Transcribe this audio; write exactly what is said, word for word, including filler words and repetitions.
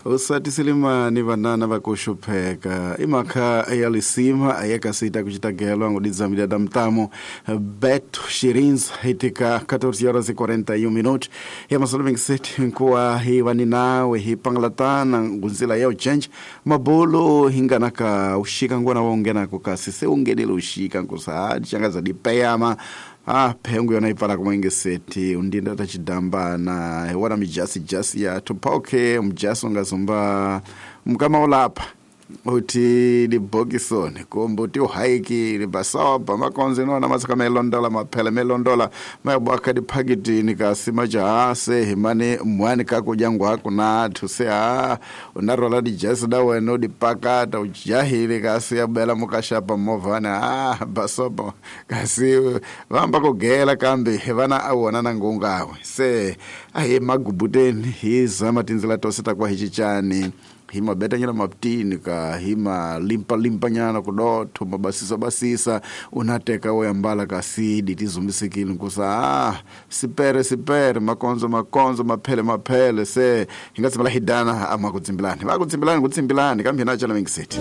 Usatisilimani vanana vakushupheka imakha ya lisima yakasita kuchitagelwa ngudizamida da mtamo Beto Shirinza itika catorze horas e quarenta e um minutos ya masolo vinte e sete nkuwa hiwani nawe hipangalatana ngunzila ya uchenje mabulu hinganaka ushika ngwana wongenako kasi se ungenile ushika nkusahadi changaza dipeyama. Ah, pengu yona ipala kumwengeseti undinda tachidambana wana mijasi jasi ya tupoke mjasi ungazumba mkama ulapa uti libokisoni kumbe uti uhaiki libasoba makonzi nona masaka melondola maphele melondola mayabwaka diphakitini kasi majahase himani mwani kakudya nathu se ha unarola dijasi da wena udipakata ujahile kasi yabela mukashapa movhani a basoba kasi vamba kugela kambe vana awona na ngungawe se ahi magubuteni hi zama tindzela tose takwa hi cincani hi mabetanyana maptini ka hi malimpa-limpanyana kudotho mabasisa-basisa unateka woyambala kasidi tizumbisekile nkusa ah sipere sipere makonzo makonzo maphele maphele se hi nga tshembela hidana ama kudzimbilani va kudzimbilani kutsimbilani kambe hina chala mingiseti.